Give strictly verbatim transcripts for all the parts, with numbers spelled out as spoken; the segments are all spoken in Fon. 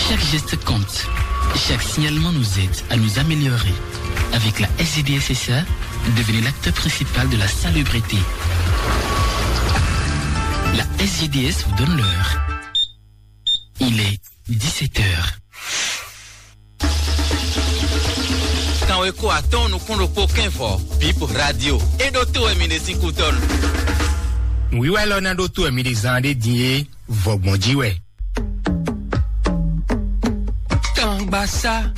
Chaque geste compte. Chaque signalement nous aide à nous améliorer. Avec la S G D S S A, devenez l'acteur principal de la salubrité. La S G D S vous donne l'heure. Il est dix-sept heures. Kanwe ko atɔn nukún ɖokpó kɛnvɔ, Bip Radio. E ɖo to wɛ mi ɖe sín kútɔnu. Nǔwiwa élɔ́ ná ɖó tó wɛ mi ɖe zán ɖé din é, vɔgbɔn jí wɛ. Tangbasá.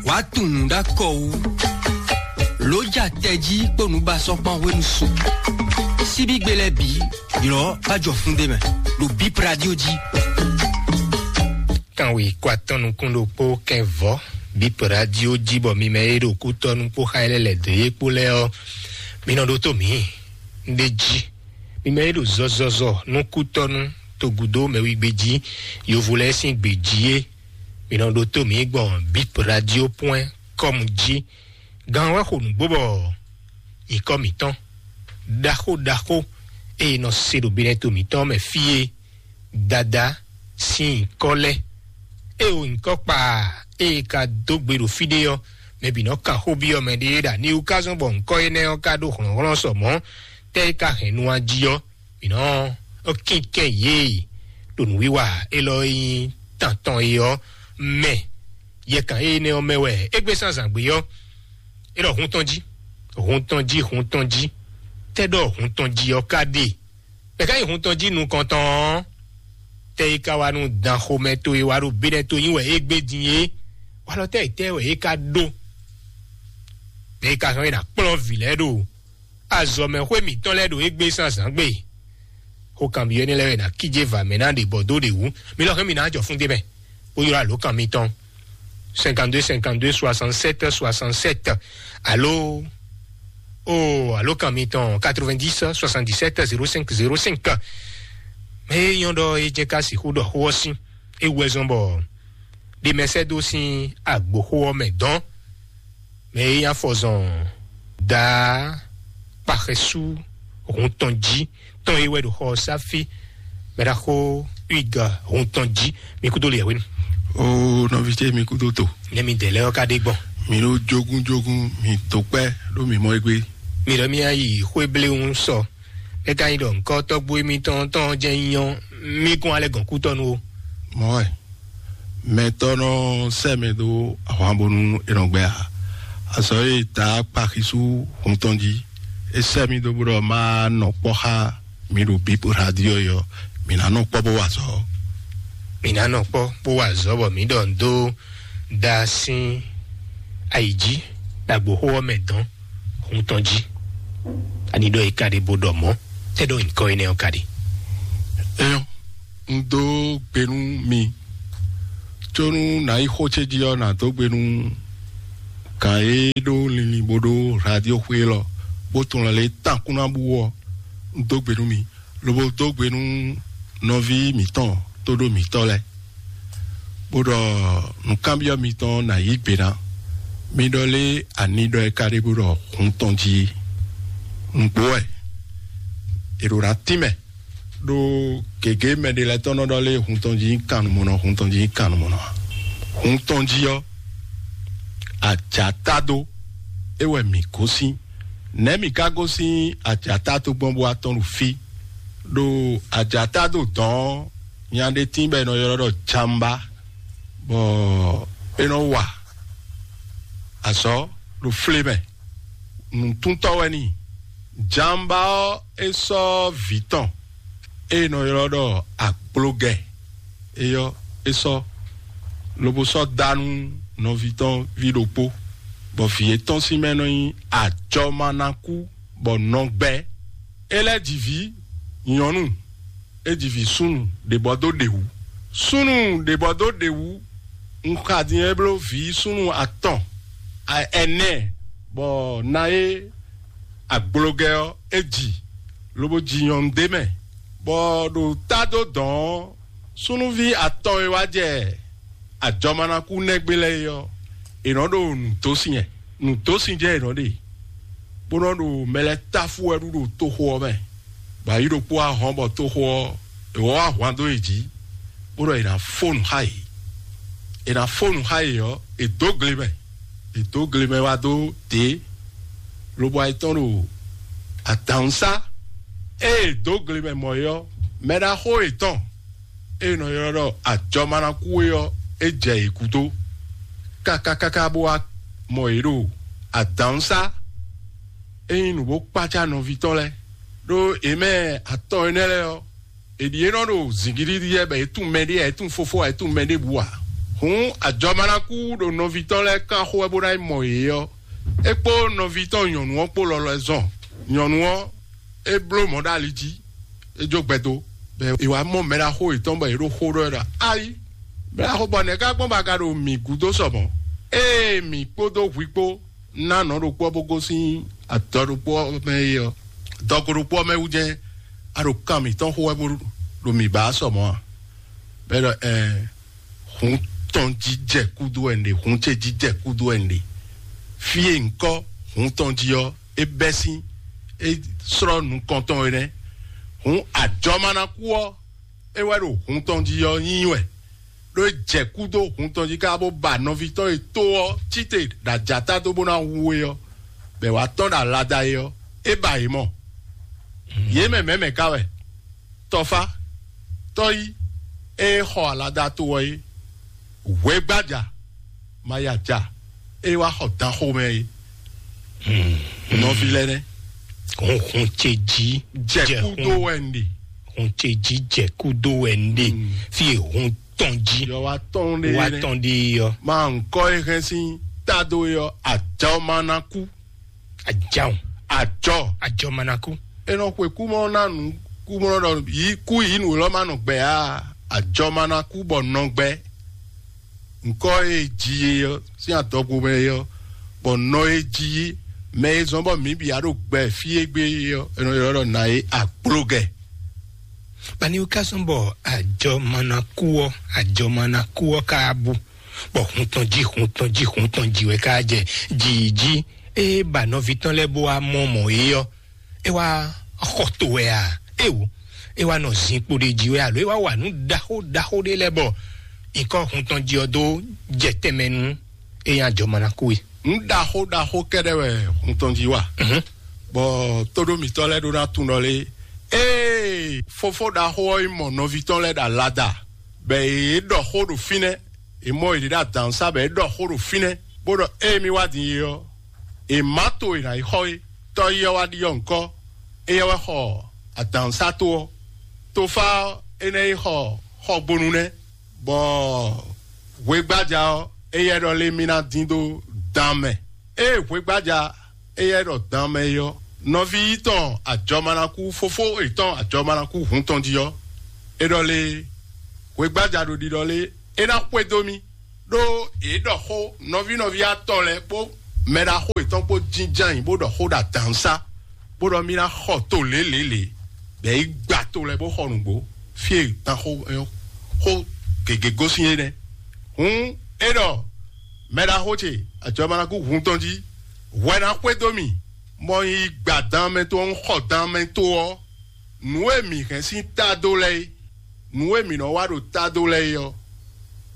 Wàá tunwun ɖó akɔ wú. Lǒ ja tɛjí kpó nǔbasɔ́kpán hwenu su. Síbígbe lɛ́ɛ bǐ, ylɔ̌ bá jɔ fún ɖé mɛ, ɖo Bip Radio jí. Kanwe kó atɔn nukún ɖokpó kɛnvɔ, Bip Radio jí bɔ mi mɛ e ɖo kútɔ́nú kpó xá e lɛ́ lɛ̌ dó é kpó lɛ́ɛ ɔ́, mi nɔ ɖótó mǐ. Un ɖe jí, mi mɛ e ɖo zɔzɔzɔ nú kútɔ́nú togúdó mɛwígbe jí, yovo lɛ́ɛ sín gbě jí é, mi nɔ ɖótó mǐ gbɔn Bip Radio point com jí. Gan wɛ xo nǔgbó bɔ nyǐkɔ mǐtɔn ɖaxó ɖaxó e nɔ se ɖo binɛto mǐtɔn mɛ fí e Dadá sín nyǐkɔ lɛ́ɛ. E o nyǐkɔ kpa e ka dó gbe ɖo fí ɖé ɔ́, mɛ bǐ nɔ kan xó byɔ́ mɛ ɖé ɖo aniwú ka zɔ́n bɔ nyǐkɔ énɛ́ ɔ́ ka ɖó hlɔ̌nhlɔ́n sɔ mɔ̌, tɛ́ e ka hɛn nu ɔ́ jí ɔ́, mǐ nɔ kínkɛ́n yě ɖo nǔwiwa élɔ́ e nyí tantɔn é ɔ́ mɛ. Yɛkan énɛ́ ɔ́ mɛ wɛ é gbé sín azǎn gbé ɔ́, é ɖɔ hun tɔn jí, hun tɔn jí, hun tɔn jí. Tɛ́ ɖɔ hun tɔn jí ɔ́ ka ɖe? Mɛ ka nyí hun tɔn jí nukɔntɔn ɔ́, tɛ́ é ka wá nú dan xomɛ towe wá ɖo bénɛ́ to nyi wɛ é gbé din é? Walɔ tɛ́ é tɛ́ wɛ é ka ɖó? Mɛ é ka hɛn é ná kplɔ́n vǐ lɛ́ɛ ɖo azɔ̌mɛxwé mǐtɔn lɛ́ɛ ɖo égbé sín azǎn gbe. Xó kanbyɔ́ énɛ́ lɛ́ɛ wɛ è nǎ kíjé va mɛ ná ɖe bɔ dó ɖě wú. Mi lɔ hɛn mi ná jɔ fún d'é mɛ, bó ylɔ́ alǒkan mitɔn: cinquante-deux cinquante-deux soixante-sept soixante-sept. Alo, o alǒkan mitɔn: quatre-vingt-dix soixante-dix-sept zéro cinq zéro cinq. Mɛ e nyɔ́ ɖɔ é jɛ ká sixú ɖɔ xó ɔ́ sín, é wú wɛ zɔ́n bɔ ɖe mɛ sɛ́ dó sín agboxó ɔ́ mɛ dɔn. Mɛ e nyí afɔzɔn daa kpaxɛsú hun tɔn jí tɔn e wɛ ɖo xɔ ɔ́ sá fí. Mɛ ɖaxó Huig hun tɔn jí, mi kúdó le hwenu. O nɔví ce, mi kúdó to. Nɛ mi dɛ lɛ́ ɔ́ ka ɖe gbɔn. Mi ɖó jógúnjógún, mi to kpɛ́ ɖó mi mɔ égbé. Mi ɖɔ mi yi xwé bléwún sɔ. É ka nyí ɖɔ ŋkɔ tɔ́gbó émítɔn tɔn jɛ́n nyí ɔ́, mí kún alɛ gɔn kútɔ́ nú ó. Mɔ̌ wɛ. Mɛtɔ́ nɔ sɛ́ mɛ dó ahwan bónú è nɔ gbɛ ǎ. Azɔ̌ e ta kpaxisú hun tɔn jí, é sɛ́ mì dó bó ɖɔ má nɔ kpɔ́ xá mi ɖo Bíp Radio ɔ́, mǐ ná nɔ kpɔ́ bó wa azɔ̌. Mǐ ná nɔ kpɔ́ bó wa azɔ̌ bɔ mǐ ɖɔ nǔ dó da sín ayi jí ɖo agboxó ɔ́ mɛ dɔn hun tɔn jí. Ani ɖɔ é ka ɖe bó ɖɔ mɔ̌, tɛ́ ɖɔ nyǐkɔ énɛ́ ɔ́ ka ɖe? Éyɔ́, un dó gbe nú mi, có nú nǎ yi xó ce jí ɔ́, nǎ dó gbe nú gǎn e ɖó linlin bó ɖó radioxwé élɔ́, bó tunwun lɛ lě tán kún ná bú ɔ́, un dó gbe nú mi, lobo dó gbe nú nɔví mǐtɔn tóɖó mǐtɔn lɛ́ɛ, bó ɖɔ nǔkanbyɔ́ mitɔn ná yí gbe ná. Mi ɖɔ lé ani ɖɔ é ka ɖe bó ɖɔ hun tɔn jí? Nǔgbó wɛ. È ɖo ná tínmɛ ɖó gěgé mɛ ɖé lɛ́ɛ tɔn nɔ ɖɔ lé hun tɔn jí kannumɔnɔ, hun tɔn jí kannumɔnɔ ǎ. Hun tɔn jí ɔ́, ajǎ tá dó, é wɛ mǐ gosín. Nɛ̌ mǐ ka gosín ajǎ tá dó gbɔn bó wá tɔ́n ɖo fí? Ɖo ajǎ tá dó dɔ̌n ɔ́, nya ɖé tíin bɔ è nɔ ylɔ́ ɖɔ jamba, bɔ é nɔ wa azɔ̌ ɖo flé mɛ. Nǔtúntɔ́ wɛ n'i. Jamba ɔ́, é sɔ́ vǐ tɔn e è nɔ ylɔ́ ɖɔ agblogɛ, é ɔ́, é sɔ́, lobo sɔ́ dá nú nɔví tɔn ví ɖokpó, bɔ vǐ étɔn sín mɛ nɔ nyí ajɔmanakú, bɔ nɔgbɛ. É lɛ́ ji vǐ nyɔ̌nu, é ji vǐ súnnu ɖě bɔ dó ɖě wú. Súnnu ɖě bɔ dó ɖě wú, un xa din é bló vǐ súnnu atɔn, a- ɛnɛ, bɔ na é agblogɛ ɔ́, é ji, lobo ji nyɔ̌nu d'é mɛ, bɔ ɖo tá dó dɔ̌n ɔ́, súnnuví atɔn e wá jɛ ajɔmanakú nɛgbé lɛ́ɛ é ɔ́, è nɔ ɖo nǔdósin wɛ. Nǔdósin jɛ è nɔ ɖe, bó nɔ ɖo mɛ lɛ́ɛ táfú wɛ ɖu ɖo toxo ɔ́ mɛ, bɔ ayǐ ɖokpó wá hɔn bɔ toxo ɔ́, è wɔ wá hwan dó yě jí. bó ɖɔ è nǎ fó nǔ xá yě. È nǎ fó nǔ xá yě ɔ́, è dǒ gle mɛ. È dǒ gle mɛ wá dó dě, lobo ayetɔn ɖo adǎnusá. Ée è dǒ gle mɛ mɔ é ɔ́, mɛɖaxó yětɔn e è nɔ ylɔ́ ɖɔ ajɔmanakú é ɔ́, é jɛ yě gúdo káká káká bó wá mɔ yě ɖo adǎnusá. É nyí nǔ bó kpácá nɔví tɔn lɛ́ɛ, ɖó yě mɛ atɔn énɛ́ lɛ́ɛ ɔ́, è ɖi é nɔ ɖo zǐngídídí lɛ́ɛ bɔ é tunwun mɛɖé ǎ, é tunwun fofó ǎ, é tunwun mɛɖěbǔ ǎ. Hǔn ajɔmanakú ɖo nɔví tɔn lɛ́ɛ kán xó wɛ bó ná yi mɔ yě ɔ́, é kpó nɔví tɔn nyɔ̌nu ɔ́ kpó lɔlɔ ɛ zɔn. Nyɔ̌nu ɔ́, é bló mɔ̌ ɖo ali jí, é jó gbɛ dó, bɔ è wǎ mɔ mɛɖaxó yětɔn bɔ yě ɖo xó ɖɔ wɛ ɖɔ: "Ayi, mɛɖaxó, bɔ nɛ̌ ká gbɔn bɔ a ka ɖo mǐ gúdo sɔ mɔ̌? Ée mǐ kpódó hwi kpó ná nɔ ɖokpó ɔ́ bó gosín adɔ ɖokpó ɔ́ mɛ é ɔ́, dɔgo ɖokpó ɔ́ mɛ wú jɛ́n a ɖo kan mǐtɔn xo wɛ bó ɖo mǐ ba sɔ mɔ̌ a?" Bɔ é ɖɔ: "Ɛɛ, hun tɔn jí jɛ kúdú wɛ un ɖe, hun ce jí jɛ kúdú wɛ un ɖe. Fí e un kɔ hun tɔn jí ɔ́, é bɛ́ sín, é slɔ́ nukɔntɔn é nɛ́. Hun ajɔmanakú ɔ́, é wɛ ɖo hun tɔn jí ɔ́ nyí wɛ, ɖó é jɛ kú dó hun tɔn jí ká bó ba nɔví tɔn e tó ɔ́ cíte ɖo ajata dó bó ná hu é ɔ́, bɔ è wǎ tɔ́n ɖo alada é ɔ́, é ba yě mɔ. Yě mɛ mɛ̌ mɛ ka wɛ? Tɔfá, tɔ́yí, ée xɔ alada to ɔ́ é, hwɛgbája, ma ya ja, ée wá xɔ dan xomɛ é." Nɔví lɛ́ɛ nɛ́. Hunhun ce jí Jɛ kú dó wɛ un ɖe. Hun ce jí jɛ kú dó wɛ un ɖe. Fí e hun tɔn jí Yɔ wá tɔn ɖe wá nɛ́. Tɔn ɖe ɔ́. Ma ŋkɔ e hɛn sín tado e ɔ́, ajɔ ma ná kú. Ajɔ. Ajɔ. Ajɔ ma ná kú. E nɔ xwe kú mɔ ná nú kú mɔ ɖɔ yi kú yi nú lɔ ma nɔ gbɛ á. Ajɔ ma ná kú bɔ nɔ gbɛ. Ŋkɔ e ji e ɔ́ sín adɔgo mɛ e ɔ́, bɔ nɔ e ji mɛ e zɔn bɔ mǐ bǐ a ɖo gbɛ fí e gbé e ɔ́, e nɔ ylɔ́ ɖɔ nǎ e agblogɛ. Bani wú ká sɔn bɔ ajɔ ma ná kú ɔ́, ajɔ ma ná kú ɔ́ ká bú, bɔ hun tɔn jí, hun tɔn jí, hun tɔn jí wɛ ká jɛ jǐ jí. Ée ba nɔví tɔn lɛ́ɛ bó wá mɔ mɔ̌ é ɔ́, é wá xɔ to wɛ a? Éwo, é wá nɔ zinkpo ɖé jí wɛ alo é wá wa nǔ ɖaxó ɖaxó ɖé lɛ́ɛ bɔ nyǐkɔ hun tɔn jí ɔ́ dó jɛ tɛnmɛ nú é nyí ajɔ ma ná kú é. Nǔ ɖaxó ɖaxó kɛ́ɖɛ́ wɛ hun tɔn jí wa. Bɔ tóɖó mǐtɔn lɛ́ɛ ɖó ná tunwun ɖɔ lé, ée fofó ɖaxó ɔ́ yi mɔ nɔví tɔn lɛ́ɛ ɖo alada, bɔ yě ɖɔ xó ɖo fínɛ́, è mɔ yě ɖo adǎnsá bɔ é ɖɔ xó ɖo fínɛ́, bó ɖɔ: "Ée mi wá din é ɔ́, è má to è nǎ yi xɔ é." Tɔ́ yi ɔ́ wá ɖiɖɔ ŋkɔ́, éyɛ́ wɛ xɔ adǎnsá to ɔ́. Tofá ɔ́, énɛ́ yi xɔ xɔgbonu nɛ́, bɔ hwegbájá ɔ́, éyɛ́ ɖɔ lé mì ná dín dó dan mɛ. Ée hwegbájá éyɛ́ ɖɔ dan mɛ é ɔ́, nɔví yítɔn ajɔmanakú, fofó yětɔn ajɔmanakú hun tɔn jí ɔ́, é ɖɔ lé hwegbájá ɖo ɖiɖɔ lé é ná xwedó mì, ɖó yě ɖɔ xó nɔví nɔví atɔn lɛ́ɛ kpó mɛɖaxó yětɔn kpó jínjɔ́n ayǐ bó ɖɔ xó ɖo adǎnsá, bó ɖɔ mì ná xɔ to lělělě, bɔ é gba to lɛ́ɛ bó xɔ nǔgbó, fí e dan xó xó gěgé gosín é nɛ́. Hǔn é ɖɔ mɛɖaxó ce ajɔmanakú hun tɔn jí, hwɛ ná xwedó mì, bɔ un yi gba dan mɛ tɔn, un xɔ dan mɛ to ɔ́, nǔ e mǐ hɛn sín ta dó lɛ́ɛ é, nǔ e mǐ nɔ wa ɖo ta dó lɛ́ɛ é ɔ́,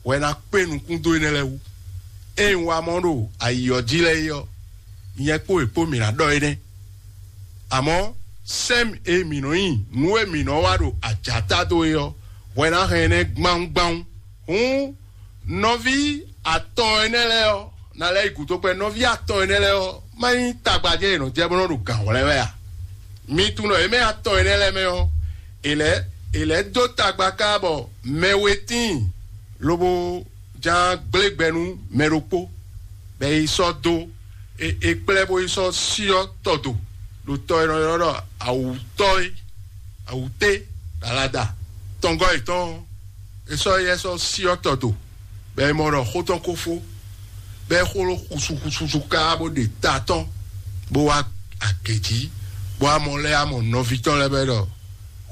hwɛ ná kpé nukún dó énɛ́ lɛ́ɛ wú. Ée un wa mɔ ɖo ayi ɔ́ jí lɛ́ɛ é ɔ́, nyɛ kpó è kpó mǐ ná ɖɔ énɛ́. Amɔ̌, sɛ́n e mǐ nɔ nyi nǔ e mǐ nɔ wa ɖo ajǎ ta dó é ɔ́, hwɛ ná hɛn énɛ́ gbáwúgbáwú. Hǔn nɔví atɔn énɛ́ lɛ́ɛ ɔ́, ná lɛ́ yi gǔdo kpɛ́. Nɔví atɔn énɛ́ lɛ́ɛ ɔ́, má nyí tagbajɛ e nɔ jɛ bó nɔ ɖo gǎn hwlɛ́n wɛ a? Mi tunwun ɖɔ yě mɛ atɔn énɛ́ lɛ́ɛ mɛ ɔ́, è lɛ́ è lɛ́ dó tagba ká bɔ mɛ we tíin, lobo ján gblé gbɛ nú mɛ ɖokpó, bɔ é yi sɔ́ dó é é kplɛ́ bó yi sɔ́ syɔ́ tɔ do ɖo tɔ e nɔ ylɔ́ ɖɔ awǔtɔ́ é, awǔté, alada tɔngɔ́ yětɔn ɔ́, é sɔ́ éyɛ́ sɔ́ syɔ́ tɔ do, bɔ é mɔ ɖɔ xó tɔn ko fó, bɔ é xó ló xusuxususu ká bó ɖe ta tɔn, bó wá agě jí, bó wá mɔ lɛ́ amɔ nɔví tɔn lɛ́ɛ bɔ é ɖɔ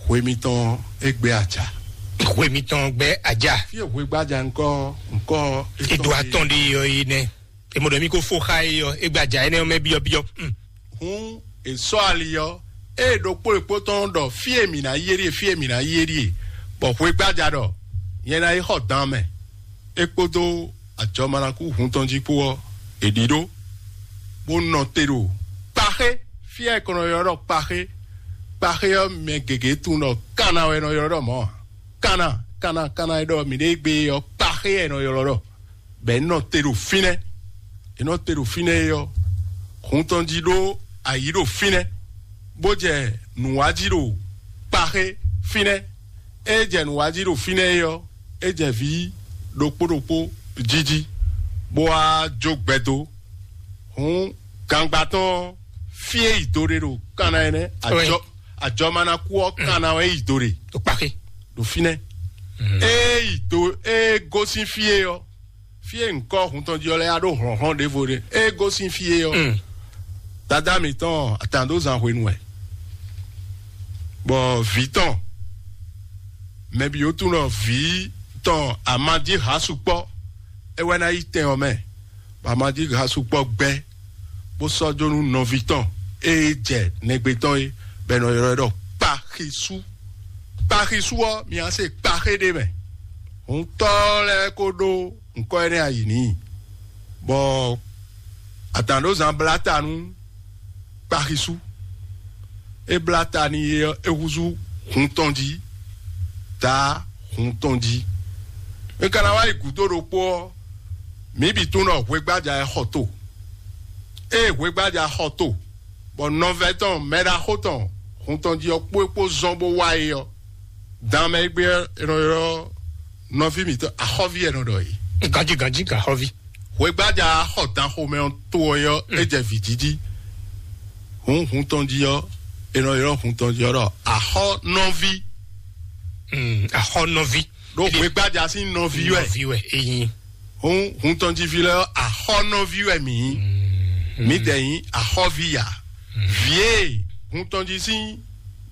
hwe mitɔn é gbé aca. Hwe mitɔn gbɛ aja. Fí e hwe gbájà ŋkɔ ŋkɔ Edo atɔn ɖe yɔ yi nɛ. Emo ɖɔ mi ko fo xa yi yɔ egbaja enɛ mɛ biɔ biɔ. Hmm. Hun esɔ ali yɔ, eye ɖokpó ɖokpó tɔn ɖɔ fí e mǐ ná yi é ɖíe, fí e mǐ ná yi é ɖíe, bɔ hwe gbájà ɖɔ nyɛ ná yi xɔ dan mɛ. É kpódó ajɔmanakú hun tɔn jí kpó ɔ́, è ɖíɖó, bó nɔ te ɖo kpaxé. Fí e è kɔn nɔ ylɔ́ ɖɔ kpaxé, kpaxé ɔ́, mɛ gěgé tunwun ɖɔ kanna wɛ è nɔ ylɔ́ ɖɔ mɔ̌ ǎ. Kanna, kanna, kanna e ɖɔ mǐ ɖe gbé ɔ́, kpaxé wɛ è nɔ ylɔ́ ɖɔ. Bɔ è nɔ te ɖo fínɛ́. È nɔ te ɖo fínɛ́ é ɔ́, hun tɔn jí ɖó ayǐ ɖo fínɛ́, bó jɛ nǔwájí ɖo kpaxé fínɛ́. É jɛ nǔwájí ɖo fínɛ́ é ɔ́, é jɛ vǐ ɖokpó ɖokpó jíjí, bó wá jó gbɛdó. Hǔn gangba tɔn ɔ́, fí e yi do ɖe ɖo kanna ɛnɛ, ajɔ ajɔmanakú ɔ́ kanna wɛ yi do ɖe ɖo kpaxé, ɖo fínɛ́. Ée yi do ée gosín fí e ɔ́, fí e nyǐkɔ hun tɔn jí ɔ́ lɛ́ɛ yá ɖó hlɔ̌nhlɔ́n ɖěvo ɖé. Ée gosín fí e ɔ́, dadá mǐtɔn atǎndózan hwenu wɛ, bɔ vǐ tɔn, mɛ bǐ ó tunwun ɖɔ vǐ tɔn amadíha sukpɔ́, é wɛ ná yi tɛn ɔ́ mɛ, bɔ amadíha sukpɔ́ gbɛ́, bó sɔ́ jó nú nɔví tɔn e jɛ nɛgbé tɔn é, bɔ è nɔ ylɔ́ ɛ ɖɔ kpaxisú. Kpaxisú ɔ́, mi wá se kpaxé ɖé mɛ. Hǔntɔ́ lɛ́ɛ ko ɖó nǔkɔ énɛ́ ayǐ n'i, bɔ adǎnɖózán blá ta nú kpaxisú. É blá ta n'i é ɔ́, é húzú hun tɔn jí, dǎ hun tɔn jí. É ka ná wá yi gǔdo ɖokpó ɔ́, mǐ bǐ tunwun ɖɔ hwegbája ɛ xɔ to. Ée hwegbája xɔ to, bɔ nɔvɛ́ tɔn mɛɖaxó tɔn hun tɔn jí ɔ́ kpó é kpó zɔ́n bó wá é ɔ́, dan mɛ e gbé ɔ́, è nɔ ylɔ́ nɔví mǐtɔn axɔ́ví wɛ è nɔ ɖɔ é. Ganjí ganjí gan xɔ́ví. Hwegbája xɔ dan xomɛ ɔ́ to ɔ́ é ɔ́, é jɛ vǐ jí jí. Hǔn hun tɔn jí ɔ́, è nɔ ylɔ́ hun tɔn jí ɔ́ ɖɔ axɔ́nɔví. Mm, axɔ́nɔví. Ɖó hwegbája sín nɔví wɛ. Nɔví wɛ eyin. Hǔn hun tɔn jí ví lɛ́ɛ ɔ́, axɔ́nɔví wɛ mǐ nyí. Mǐ dɛ nyí axɔ́ví ya. Vǐ e hun tɔn jí sín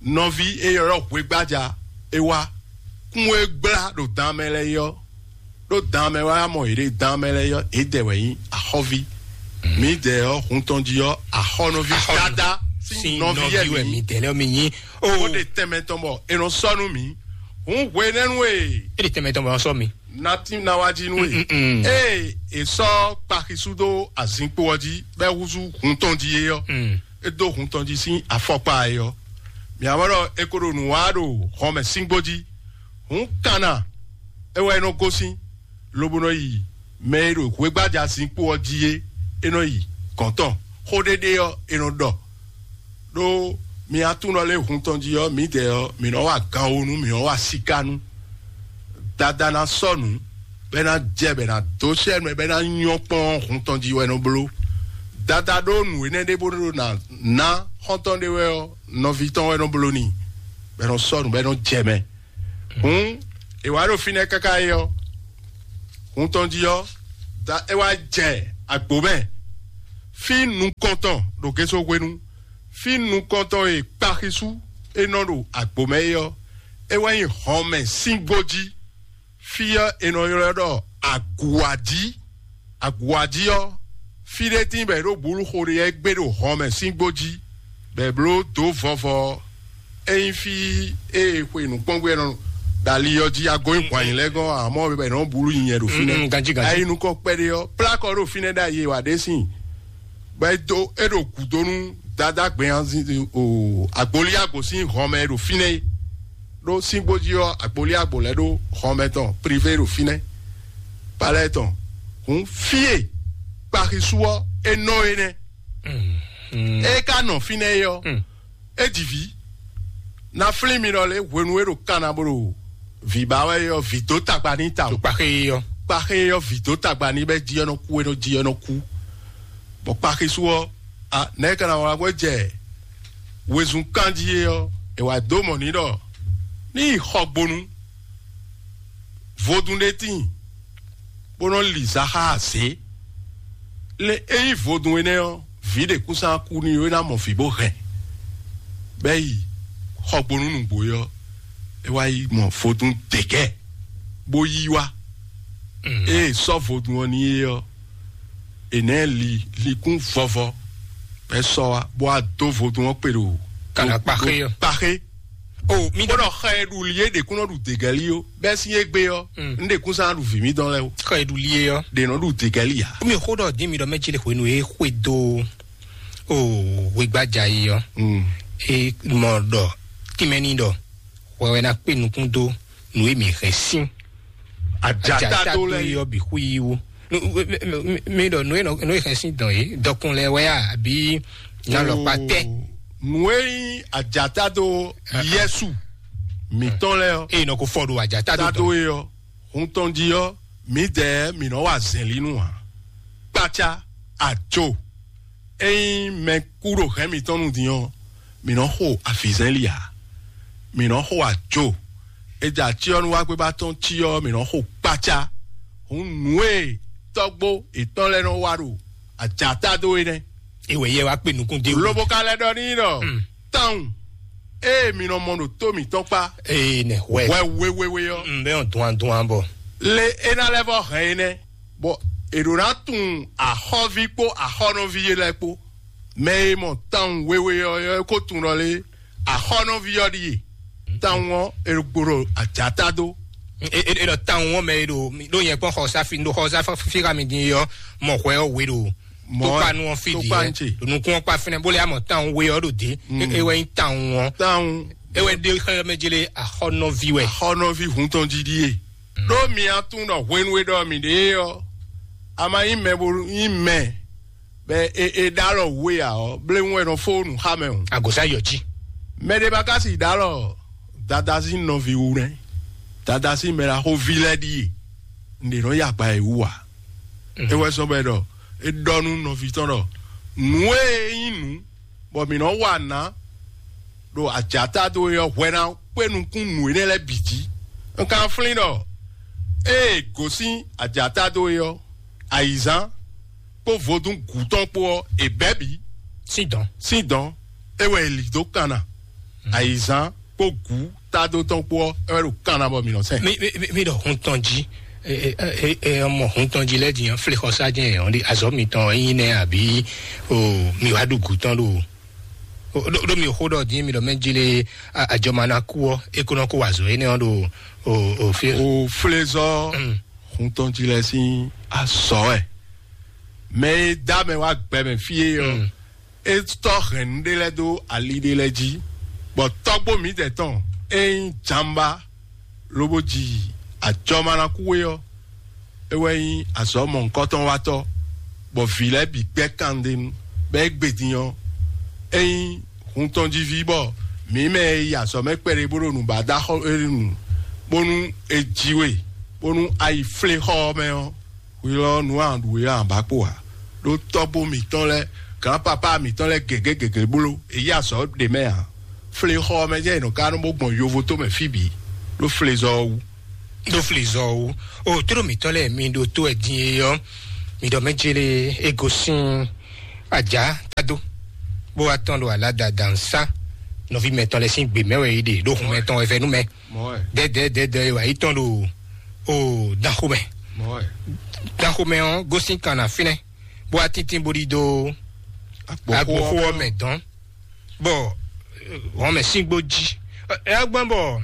nɔví e ylɔ́ hwegbája é wá. Kún e gblá ɖo dan mɛ lɛ́ɛ é ɔ́, ɖó dan mɛ wá mɔ yě ɖe dan mɛ lɛ́ɛ é ɔ́, yědɛɛ wɛ nyí axɔ́ví. Mǐdɛɛ ɔ́, hun tɔn jí ɔ́, axɔ́nɔví Axɔ́nɔ- dada sín sín nɔví yɛ nɔví wɛ mǐ. Mǐdɛɛ lɛ́ɛ mi nyí. Ó O ɖe tɛnmɛ tɔn bɔ è nɔ sɔ́ nú mǐ. Hǔn hwenɛ́nu e é ɖe tɛnmɛ tɔn bɔ sɔ́ mi. Natin ná wá jí nú e. Mm, mm, mm. Ée è sɔ́ kpaxisú dó azinkpo ɔ́ jí, bɔ é húzú hun tɔn jí é ɔ́, Mm. é dó hun tɔn jí sín afɔkpa é ɔ́. Mǐ wá mɔ ɖɔ è ko ɖo nǔ wa ɖo hɔnmɛ síngbó jí. Hǔn kanna é wɛ é nɔ gosín, lobo nɔ yi mɛ e ɖo hwegbája zinkpo ɔ́ jí é, é nɔ yi gɔ̌n tɔn. Xó ɖé ɖé ɔ́, è nɔ ɖɔ. Ɖó mi aklúnɔ lɛ́ɛ hun tɔn jí ɔ́, mǐdɛɛ ɔ́, mǐ nɔ wa ganwonu, mǐ nɔ wa sikánu. Dada ná sɔ́ nǔ, bɔ é ná jɛ, bɔ é ná dó sɛ́ nú ɛ, bɔ é ná nyɔ́ kpɔ́n hun tɔn jí wɛ nɔ bló. Dada ɖó nǔ énɛ́ ɖé bó ɖó ná ná xɔ́ntɔn ɖé wɛ ɔ́, nɔví tɔn wɛ nɔ bló n'i, bɔ é nɔ sɔ́ nǔ, bɔ é nɔ jɛ mɛ. Hǔn è wǎ ɖo fínɛ́ káká é ɔ́, hun tɔn jí ɔ́, da é wá jɛ agbo mɛ. Fí nukɔntɔn ɖo Geso hwenu, fí nukɔntɔn e kpaxisú é nɔ ɖo agbo mɛ é ɔ́, é wɛ nyí hɔnmɛ sín gbó jí. Fí ɔ́, è nɔ ylɔ́ ɖɔ Aguwájí. Aguwájí ɔ́, fí ɖé tíin bɔ è ɖo bǔlu xo ɖé ɔ́ gbé ɖo hɔnmɛ sín gbó jí, bɔ è bló dǒ vɔvɔ ɔ́. Ényí fí e xwe nǔkpɔ́ngbé nɔ ɖo ali ɔ́ jí, ago nyi hwan nyi lɛ́ɛ gɔ́n, amɔ̌ bɛ nɔ bulu nyi nyɛ ɖo fínɛ́. Mm, mm, ganjí, ganjí. Ayi nukɔn kpɛɖé ɔ́, plá kɔ ɖo fínɛ́ ɖo ayi e wǎ ɖe sín. Bɔ é dó é ɖo gǔdo nú Dadá gbɛnyanzin o agboli agbo sín hɔnmɛ e ɖo fínɛ́ é. Ɖó síngbó jí ɔ́, agboli agbo lɛ́ɛ ɖó hɔnmɛ tɔn privé ɖo fínɛ́. Palɛ́ tɔn. Hǔn fí e kpaxisú ɔ́ é nɔ é nɛ́. Mm, mm. É ka nɔ fínɛ́ é ɔ́, Mm. é ji vǐ. Na flín mi nɔ lě hwenu e ɖo kanna bó ɖo vǐ ba wɛ é ɔ́, vǐ dó tagba n'i ta o. Kpaxé ɔ́. Kpaxé ɔ́, vǐ dó tagba n'i bɔ é jí ɔ́ nɔ kú, é nɔ jí ɔ́ nɔ kú. Bɔ kpaxisú ɔ́, a nɛ̌ ka ná wlá bɔ é jɛ wezun kanjí é ɔ́, è wǎ dó mɔ n'i ɖɔ ní yi xɔgbonu. Vodún ɖé tíin, bó nɔ li zaxá azě. Le ényí vodún énɛ́ ɔ́, vǐ ɖě kún sán kú n'i, é ná mɔ vǐ bó hɛn. Bɛ́ yi xɔgbonu nǔgbó é ɔ́, é wá yi mɔ vodún dɛ̌gɛ́, bó yí wá. Ée sɔ́ vodún ɔ́ n'i é ɔ́, è nɛ̌ li likún vɔvɔ, bɛ́ sɔ́ wá, bó wá dó vodún ɔ́ kpe ɖo Kànákpaxé ɔ́. Kpaxé. O mi bó ɖɔ ɖɔ xɛ e ɖu li é ɖě kún nɔ ɖu degɛli ó, bɛ́ sín égbé ɔ́, Mm. un ɖě kún sán ɖu vǐ mítɔn lɛ́ɛ ó. Xɔ e ɖu li é ɔ́. Ɖě nɔ ɖu degɛli ǎ. Mi xó ɖɔ dín mi ɖɔ mɛ jí le hwenu e xwe dó o hwegbájà yi ɔ́. Mm. E mɔ ɖɔ tímɛní ɖɔ hwɛ wɛ ná kpé nukún dó nǔ e mi hɛn sín Ajata dó lɛ yi. Ɔ́ bǐ xú yi wú. Mi ɖɔ nǔ e nɔ- nǔ e hɛn sín dɔn yìí dɔkun lɛ wɛ a àbí nalɔkpa tɛ? Nǔ e nyí ajata dó yɛsu mǐtɔn lɛ ɔ́, Eye nɔ ko fɔ ɖo ajata dó tado dɔn. E ɔ́, hun tɔn jí ɔ́, mǐdɛɛ mǐ nɔ wa zɛ̌nlínu ǎ. Kpácá, ajo, ényí mɛ kú ɖo hɛ̌n mǐtɔn nu din ɔ́, mǐ nɔ xo avǐzɛ́nlí ǎ. Mǐ nɔ xo ajo. È jɛ acyɔ́núwágbéba tɔn cí ɔ́, mǐ nɔ xo kpácá. Hǔn nǔ e tɔ́gbó yětɔn lɛ́ɛ nɔ wa ɖo ajata dó é nɛ́. Ewɛ yɛ wá kpe nukún dé. Lobo ka lɛ́ ɖɔ n'i ɖɔ, Mm. Tawun, ée mi nɔ mɔ ɖo tó mǐtɔn kpá Ee nɛ hwɛ. Hwɛ wéwéwé ɔ́, Mm, bɛ ɔn duan duan bɔ. Le é ná lɛ́ vɔ hɛn é nɛ́, bɔ è ɖǒ ná tunwun axɔ́ví kpó axɔ́nɔví yé lɛ́ɛ kpó. Mɛ e mɔ tawun wéwé ɔ́ é ko tunwun ɖɔ lé, axɔ́nɔví ɔ́ ɖíe. Tawun ɔ́, è ɖo gbo ɖo ajata dó. E e e ɖɔ tawun ɔ́ mɛ e ɖo ɖo nyɛ kpɔn xɔsa fi ɖo xɔsa fi xa mi din yɔ mɔ hwɛ ɔ́ we ɖo Mɔ tokpanu ɔ́ fi di tokpa yɛ ŋtse. Ɖo nukun ɔ́ kpa fínɛ bó lɛ amɔ tawun we ɔ́ ɖo dé. E e wɛ nyi tawun ɔ́. Tawun. E wɛ ɖe xɛ mɛ jele axɔnɔvi wɛ. Axɔnɔvi hun tɔn jí ɖíe. Ɖó mi atún ɖɔ hwenu e ɖɔ mi ɖe ɔ́, a ma nyí mɛ bo nyí mɛ bɛ e e ɖó alɔ wú e ǎ ɔ́, bléwún wɛ nɔ fó nǔ xa mɛ o. Agosa yɔ jí. Mɛ ɖé ba ka si ɖó alɔ dada sín nɔví wú nɛ́. Dada sín mɛ ɖaxó ví lɛ́ɛ ɖíe. Un ɖě nɔ yi agba e wú ǎ. É wɛ sɔ́ bɔ é ɖɔ é ɖɔ nú nɔví tɔn ɖɔ nǔ e nyí nǔ bɔ mǐ nɔ wa nǎ ɖo ajǎta dó é ɔ́ hwɛ ná kpé nukún nǔ énɛ́ lɛ́ɛ bǐ jí. Un ka flín ɖɔ ée è gosín ajǎta dó é ɔ́, ayǐzán kpó vodún gǔ tɔn kpó ɔ́, è bɛ̌ bǐ. Sín dɔn. Sín dɔn, é wɛ è lǐ dó kanna. Ayǐzán kpó gǔ tádó tɔn kpó ɔ́, é wɛ ɖo kanna bɔ mǐ nɔ sɛn. Mi mi mi- mi ɖɔ hun tɔn jí. Ɛ ɛ ɛ ɛ, mɔ hun tɔn jí lɛ din flexɔ sa jɛn ɔn di azɔ mitɔn yin nɛ abi o mi wa ɖu gu tɔn ɖo o ɖo ɖo mi xo ɖɔ din mi ɖɔ mɛ jí le a- ajɔma na ku ɔ e ko nɔ ko wa azɔ énɛ́ ɔ́ ɖo o o fi. O flezɔ Mm. Hun tɔn jí lɛ sín azɔ ɛ. Mɛ e dá mɛ wá gbɛ mɛ fí é ɔ́, Mm. É tɔ́ hɛn nǔɖé lɛ́ɛ dó ali ɖé lɛ́ɛ jí, bɔ tɔ́gbó mǐdɛɛ tɔn e nyí Jamba lobo ji ajɔmanakuwe ɔ́, é wɛ nyí azɔ̌ mɔ̌hunkɔtɔn watɔ́, bɔ vǐ lɛ́ɛ bǐ gbɛ́ kandénu, bɔ é gbe din ɔ́, é nyí hun tɔn jí ví, bɔ mǐ mɛ e yi azɔ̌ mɛ kpɛɖé bó ɖo nǔ ba dó axɔ́ é nu, bónú è ji we, bónú a yi flé xɔ ɔ́ mɛ ɔ́, hwi lɔ nǔ a ɖu é a ba kpo ǎ. Ɖó tɔ́gbó mǐtɔn lɛ́ɛ, gǎnpapá mǐtɔn lɛ́ɛ gěgé gěgé bló, è yí azɔ̌ ɖě mɛ ǎ. Flexɔ ɔ́ mɛ jẹ́ è nɔ ka nɔ bó gbɔn yovo tó mɛ fí bǐ, ɖó flezɔ ɔ́ wú. Ɖó flezɔ ɔ́ wú. O tló mǐtɔn lɛ́ɛ mi ɖo tó wɛ din e ɔ́, mi ɖɔ mɛ jele e gosín ajá tado, bó wá tɔn ɖo aládàdà nsá nɔví mɛtɔn lɛ́ɛ sín gbě mɛ wɛ é ɖe ɖó hun mɛtɔn wɛ vɛ nú mɛ. Mɔ̌ wɛ. Dɛdɛ dɛdɛ wɛ yi tɔn ɖo o danxomɛ. Mɔ̌ wɛ. Danxomɛ ɔ́ gosín kan na fínɛ́ bó wá tíntín bó ɖidó Agboxó agboxó ɔ́ ɔ́ mɛ dɔn bɔ wɔn mɛ síngbó jí. Ɛ gbɔn bɔ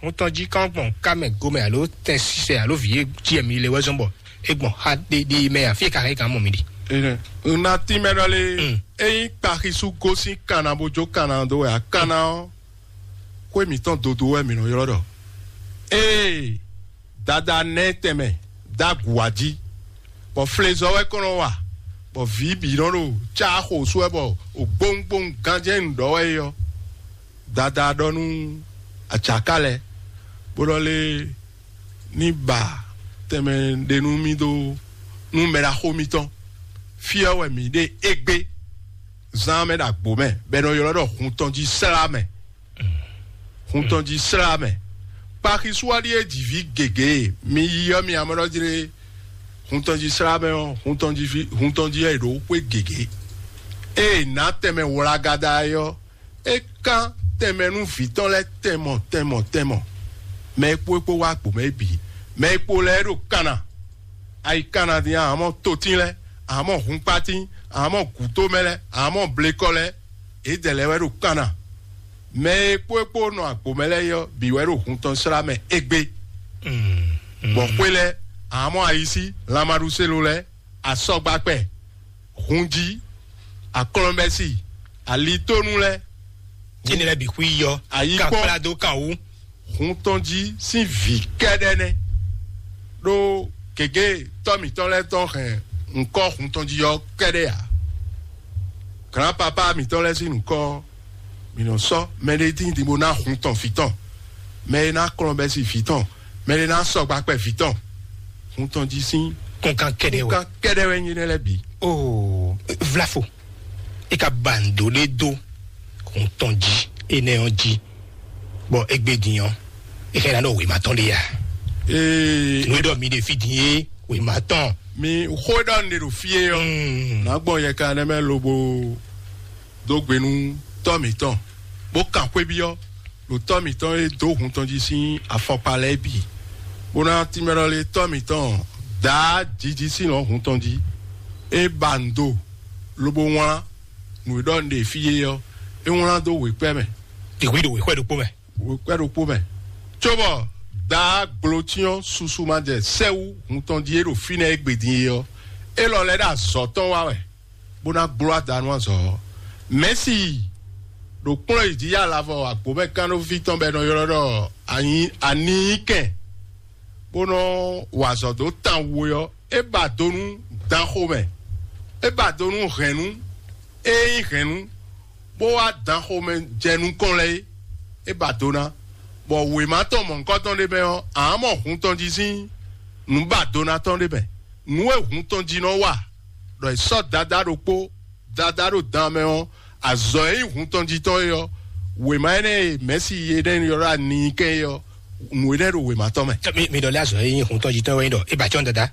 ŋutɔn jí kán gbɔn ká mɛ gomɛ alo tɛn sisɛ alo vǐ jí ɛmí lé wɛ zɔn bɔ é gbɔn xa ɖéɖé mɛ afí ka hɛn kan mɔ mi ɖi. Ena tínmɛ ɖɔ lé. Mm. Eyin kpaxisu gosín kanna bó jó kanna dó wɛ akanna ɔ́, xwé mǐtɔn dodo wɛ mǐ nɔ ylɔ́ ɖɔ. Ee, dada nɛ́ tɛnmɛ dó agu wá jí, bɔ flezɔ wɛ kɔn nɔ wa, bɔ vǐ bǐ nɔ ɖo cá xo sú wɛ bɔ ògbóŋgbóŋ ganjɛ́n nǔ ɖɔ wɛ é ɔ́, dada ɖɔ nú acaká lɛ́ɛ, bó ɖɔ lé ní ba tɛnmɛ ɖé nú mì dó nú mɛ ɖaxó mitɔn. Fí ɔ́ wɛ mǐ ɖe égbé zán mɛ ɖo agbo mɛ, bɔ è nɔ ylɔ́ ɖɔ hun tɔn jí slá mɛ. Hun tɔn jí slá mɛ. Kpaxisúwaɖi e ji vǐ gěgé, mi yi ɔ́, mi amɔ́ ɖɔ jlé hun tɔn jí slá mɛ ɔ́, hun tɔn jí ví hun tɔn jí ɛ ɖo xwé gěgé. Ée nǎ tɛnmɛ wlagada é ɔ́, é kán tɛnmɛ nú vǐ tɔn lɛ́ɛ tɛnmɔ tɛnmɔ tɛnmɔ. Mɛ e kpó é kpó wá agbo mɛ é bǐ. Mɛ e kpo lɛ́ɛ ɖo kanna. Ayi kanna dín a mɔ totín lɛ́ɛ, a mɔ hunkpatín, a mɔ gǔtomɛ lɛ́ɛ, a mɔ blekɔ lɛ́ɛ, é dɛ lɛ́ɛ wɛ ɖo kanna. Mɛ e kpó é kpó nɔ agbo mɛ lɛ́ɛ ɔ́, bǐ wɛ ɖo hun tɔn slá mɛ égbé. Bɔ xwé lɛ́ɛ, amɔ́ ayisí, lanmaɖuselo lɛ́ɛ, asɔgbakpɛ, hunjí, aklɔ́nbɛ́si, alitónú lɛ́ɛ, Tíni lɛ́ɛ bǐ xwí yɔ. Ayikpɔ́n. Kan kplá dó kan wú. Hun tɔn jí sín vǐ kɛ́ɖɛ́ nɛ́. Ɖó gěgé tɔ́ mǐtɔn lɛ́ɛ tɔn hɛn ŋkɔ́ hun tɔn jí ɔ́ kɛ́ɖɛ́ ǎ. Glǎnpapá mǐtɔn lɛ́ɛ sín nǔkɔ ɔ́, mǐ nɔ sɔ́ mɛɖé tíin din bó ná hun tɔn vǐ tɔn, mɛ e ná kplɔ́n bɛ́ sín vǐ tɔn, mɛ e ná sɔgba kpɛ vǐ tɔn. Hun tɔn jí sín Kúnkan kɛ́ɖɛ́ wɛ. Kúnkan kɛ́ɖɛ́ wɛ nyí nɛ́ lɛ́ɛ bǐ. Oo, vlafo. E ka ba ndo ɖé dó hun tɔn jí énɛ́ ɔ́ jí, bɔ égbé din ɔ́, e xɛ ná ɖɔ wěma tɔn ɖé ya. Ee, Nú e ɖɔ mi ɖe fí din é, wěma tɔn. mi xó ɖɔ un ɖe ɖo fí é ɔ́, Mm. nǎ gbɔn yɛ kan nɛ́ mɛ lobo dó gbe nú tɔ́ mǐtɔn, bó kan xwé byɔ́ ɖo tɔ́ mǐtɔn e dó hun tɔn jí sín afɔkpa lɛ́ɛ bǐ, bó ná tínmɛ ɖɔ lé tɔ́ mǐtɔn dǎ jiji sín lɔ̌ hun tɔn jí. É ba ndo lobo wlán nǔ e ɖɔ un ɖe fí é ɔ́, é wlán dó wěkpɛ́ mɛ. Ìwé ɖo wěxwɛ ɖokpó mɛ. Wěkpɛ́ ɖokpó mɛ, cóbɔ dǎ gblǒcyɔ́n susu ma jɛ sɛ́wú hun tɔn jí é ɖo fínɛ́ égbé din é ɔ́, é lɔ lɛ́ ɖo azɔ̌ tɔn wa wɛ, bó ná gbló ada nú azɔ̌ ɔ́. Mɛ̌si ɖo kplɔ́n yi jí yá lavɔ agbǒmɛkánɖóví tɔn bɔ è nɔ ylɔ́ ɖɔ anyi aninyíkɛn, bó nɔ wa azɔ̌ dó tan wu é ɔ́, é ba do nú danxomɛ, é ba do nú hɛ̌nnu, é nyí hɛ̌nnu, bó wá danxomɛ jɛ nukɔn lɛ́ɛ é, é ba do ná. Bɔ wěma tɔn mɔ̌hunkɔtɔn ɖé mɛ ɔ́, ǎ mɔ hun tɔn jí sín nǔ ba do ná tɔn ɖé mɛ. Nǔ e hun tɔn jí nɔ wa, ɖɔ è sɔ́ dadá ɖokpó, dadá ɖo dan mɛ ɔ́, azɔ̌ e nyí hun tɔn jí tɔn é ɔ́, wěma énɛ́ e mɛ̌si énɛ́ ylɔ́ ɖɔ aninyíkɛn é ɔ́, nǔ énɛ́ ɖo wěma tɔn mɛ. Mi mi ɖɔ lé azɔ e nyí hun tɔn jí tɔn wɛ nyí ɖɔ e ba cɔn dada.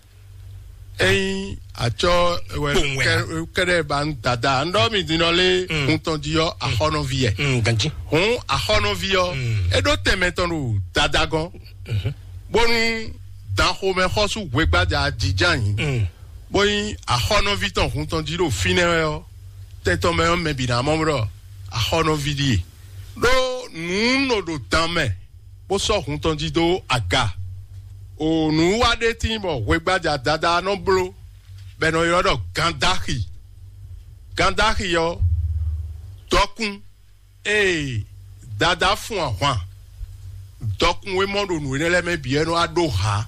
Ényí atsɔ wɛ Kpowun wɛ. Kɛɖɛ ba ń dada, ŋɖɔ mi din ɔ lé Mm. hun tɔn jí ɔ axɔnɔvi yɛ. Mm, ganji. Hun axɔnɔvi ɔ, Mm. é ɖó tɛmɛ tɔn ɖo dada gɔn, bónú danxomɛ xɔsú hwegbájà jijá yìí, Mm. bóyí axɔnɔvi tɔn hun tɔn jí ɖo fínɛ́ wɛ ɔ́, tɛtɔn mɛ ɔ́ mɛ bǐ ná mɔ ɖɔ axɔnɔvi ɖíe. Ɖó nǔ nɔ ɖo dan mɛ, bó sɔ́ hun tɔn jí dó aga. O nǔ wa ɖé tín bɔ hwegbájà dada nɔ bló, bɔ è nɔ ylɔ́ ɖɔ gandaxi. Gandaxi ɔ́, dɔkun, ee, dada fun ahwan, dɔkun e mɔ ɖo nǔ énɛ́ lɛ́ɛ mɛ bǐ, é nɔ wá ɖó ha,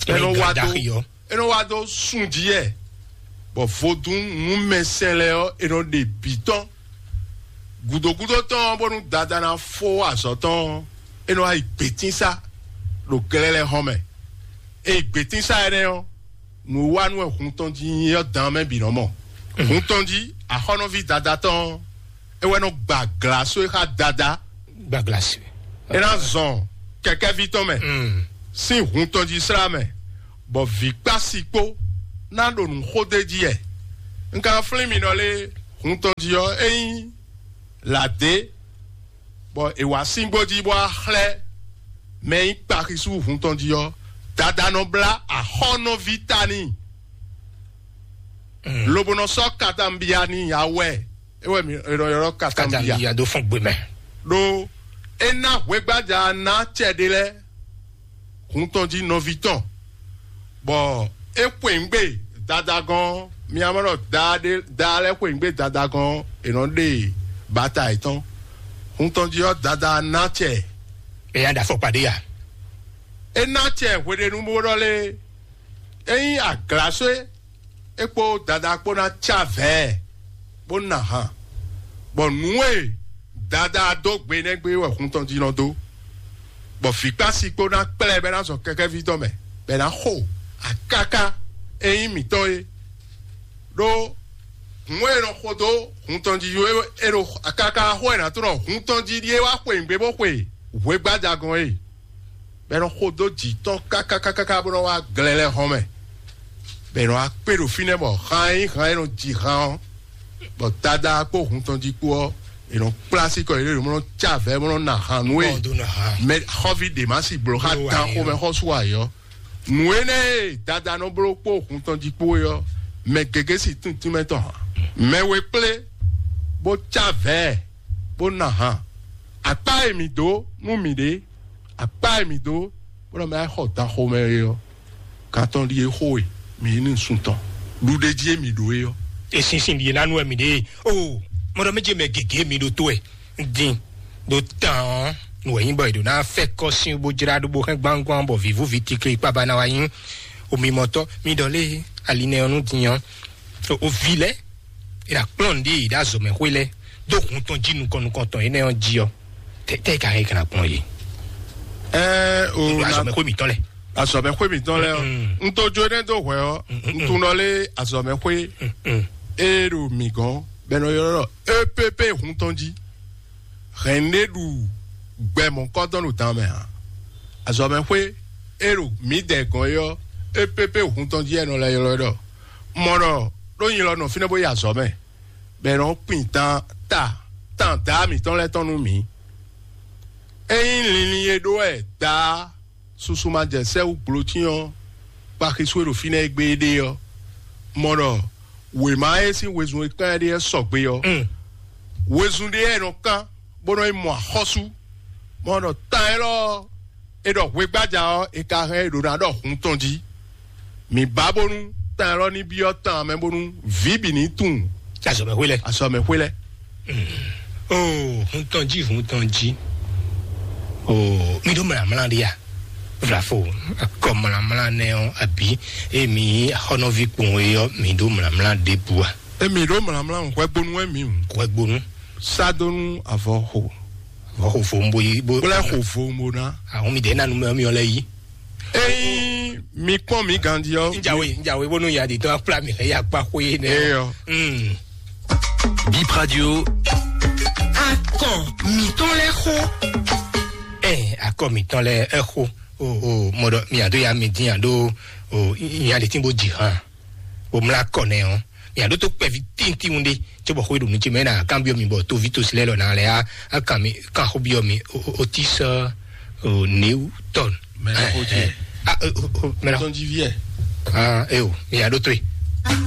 é nɔ wá dó, Gandaxi ɔ́. é nɔ wá dó sun jí yɛ, bɔ vodún nǔmɛsɛn lɛ́ɛ ɔ́, é nɔ ɖe bǐ tɔn. Gǔdógúdó tɔn ɔ́, bónú dada ná fó azɔ̌ tɔn ɔ́, é nɔ wá yi gbětínsá ɖo glɛ́lɛ́ hɔn mɛ. É yi gbětínsá énɛ́ ɔ́, nǔ wa nú wɛ hun tɔn jí nyí ɔ́ dan mɛ bǐ nɔ mɔ. Hun tɔn jí axɔ́nɔví dada tɔn ɔ́, é wɛ nɔ gba glǎsó e xá dada, Gba glasi. é ná zɔn kɛkɛ́ví tɔn mɛ Mm. sín hun tɔn jí slá mɛ, bɔ vǐ kpási kpó ná ɖo nǔ xó d'é jí yɛ. Un ka flín mi nɔ lé hun tɔn jí ɔ́, é nyí lǎdé, bɔ è wǎ síngbó jí bó wá xlɛ́ mɛ e nyí kpaxisú hun tɔn jí ɔ́, dada nɔ blá axɔ́nɔví ta n'i, lobo nɔ sɔ́ katanbia n'i awɛ, é wɛ mi è nɔ ylɔ́ katanbia. Katanbia dó fún gbé mɛ. Ɖó é ná hwegbájà ná acɛ ɖé lɛ́ɛ hun tɔn jí nɔví tɔn, bɔ é xweyǐgbe dadagɔn, mi ná mɔ ɖɔ daa ɖé daa lɛ́ɛ xweyǐgbe dadagɔn è nɔ ɖe bata yětɔn. Hun tɔn jí ɔ́, dada ná acɛ. Ɛ ya ɖa fɔkpa ɖé ya. É ná acɛ hweɖénu bó ɖɔ lé, é nyí aglaswé, é kpó dada kpó ná cá vɛ̌, bó ná han, bɔ nǔ e dada dó gbe nɛ́ gbé wɛ hun tɔn jí nɔ dó, bɔ vǐkpási kpó ná kplá ɛ bɔ é ná zɔn kɛkɛ́ví tɔn mɛ, bɔ é ná xo akáká e nyí mǐtɔn é. Ɖó hun e è nɔ xo dó hun tɔn jí é ɖo akáká xó e è nǎ tlɔ́ hun tɔn jí ɖíe wá xweyǐgbe bó xwe hwegbájagɔn é. Bɔ è nɔ xo dó jǐ tɔn kákákákáká bó nɔ wá glɛlɛ hɔn mɛ, bɔ è nɔ wá kpé ɖo fínɛ́ bɔ han e nyí han e nɔ ji han ɔ́, bɔ dada kpó hun tɔn jí kpó ɔ́, è nɔ kplá sí kɔ yě ɖo mɔ nɔ cá vɛ̌ mɔ nɔ ná han nú é. Ɔ, dó ná han. Mɛ xɔ́ví ɖě má sí bló xá Bló dan ayé xomɛ ɔ́. Xɔ́sú ayé ɔ́. Nǔ énɛ́ e dada nɔ bló kpó hun tɔn jí kpó é ɔ́, mɛ gěgé sí tíntínmɛ tɔn hǎn. Mɛ we kplé bó cá vɛ̌ bó ná han. Akpá e mǐ dó nú mǐɖée, akpá e mǐ dó bó nɔ mɛ xɔ dan xomɛ é ɔ́, gantɔn ɖíe xo e mǐ yí nú sun tɔn ɖuɖéjí e mǐ ɖó é ɔ́. Esinsin ɖíe ná nú wɛ mǐɖée. O, mɔɖɔ méje mɛ gěgé mi ɖo tó wɛ. Din ɖo tán ɔ́, nǔ wɛ nyí bɔ è ɖo ná fɛ kɔ sín bó jlá ɖó bó hɛn gbangban bɔ vǐvú ví tikli kpaba ná wá nyí. Omimɔtɔ mi ɖɔ lé ali nɛ ɔ́ nú din ɔ́. O vi lɛ, è nǎ kplɔ́n nǔɖé yi ɖo azɔ̌mɛxwé lɛ́ɛ dó hun tɔn jí nukɔn nukɔn tɔn énɛ́ ɔ́ jí ɔ́, tɛ́ tɛ́ ka hɛn ka ná kplɔ́n yě? Ɛ o Ɖo na azɔ̌mɛxwé mǐtɔn lɛ. Azɔ̌mɛxwé mǐtɔn lɛ ɔ́, Mm. Un to jó énɛ́ dó hwɛ ɔ́, Mm, mm, un tunɔ lé azɔ̌mɛxwé Mm, mm. E ɖo mǐ gɔ́n bɔ è nɔ ylɔ́ ɖɔ E P P hun tɔn jí. Hɛn ɖé ɖu gbɛ mɔ̌kɔ́dɔn ɖo dan mɛ ǎ. Azɔ̌mɛxwé e ɖo mǐdɛɛ gɔ́n é ɔ́, E P P hun tɔn jí wɛ è nɔ lɛ́ ylɔ́ ɛ ɖɔ. Mɔ ɖɔ ɖó nyi lɔ nɔ fínɛ́ bó yi azɔ̌ mɛ, bɔ è nɔ kpin tan ta tan dǎ mǐtɔn lɛ́ɛ tɔn nú mǐ. Ényí linlin e ɖó wɛ dǎ susu ma jɛ sɛ́ wú gblǒtín ɔ́, kpaxisú e ɖo fínɛ́ e gbé é ɖe ɔ́, mɔ ɖɔ wěma e sín wezun e kán ɛ ɖe ɔ́ sɔgbe ɔ́, Mm. Wezun ɖé wɛ è nɔ kán bó nɔ yi mɔ axɔ́sú. Mɔ ɖɔ tan élɔ́ ɔ́, è ɖɔ hwegbájá ɔ́, è ka hɛn è ɖǒ ná ɖɔ hun tɔn jí. Mǐ ba bónú tan élɔ́ ní byɔ́ tan mɛ bónú vǐ bǐ ní tunwun Azɔ̌mɛxwé lɛ. Azɔ̌mɛxwé lɛ́ɛ. Oo, hun tɔn jí, hun tɔn jí. Oo, mi ɖó mlǎmlá ɖé a? Vlafo, akɔ mlǎmlá nɛ ɔ́, abǐ emi axɔ́nɔví kpɔn e ɔ́, mi ɖó mlǎmlá ɖěbǔ a? Emi ɖó mlǎmlá hwɛgbónú wɛ mi hǔn. Hwɛgbónú. Sá dó nú avɔ xo. Avɔ xo fo ń bo yi bó. Kplá xo fo ń bo ná. Àwọn mi dɛ nanu mɛ mi ɔlɛ yi. Eyin mi kpɔn mi gandi ɔ. Njawe njawe bónú ya di tɔn akpla mi hɛ ya kpa xo ye nɛ. Eyɔ. Mm. Bip Radio. Akɔ mitɔn lɛ xo. Ɛ akɔ mitɔn lɛ ɛ xo. O o mɔdɔ mi ado ya mi din ado o ya de tin bo dzi hàn. O mla kɔ nɛ ɔ. Mi ado to kpɛvi tintin de. Tso bɔ xo ɖo nu tsi mɛ na kan biɔ mi bɔ to vi to si lɛ lɔ na lɛ a kan mi kan xo biɔ mi o o ti sɔ o new tɔn. Mɛ na xo tsi. A o o mɛ na. Tɔn dzi viɛ. Ah e o mi ado to ye.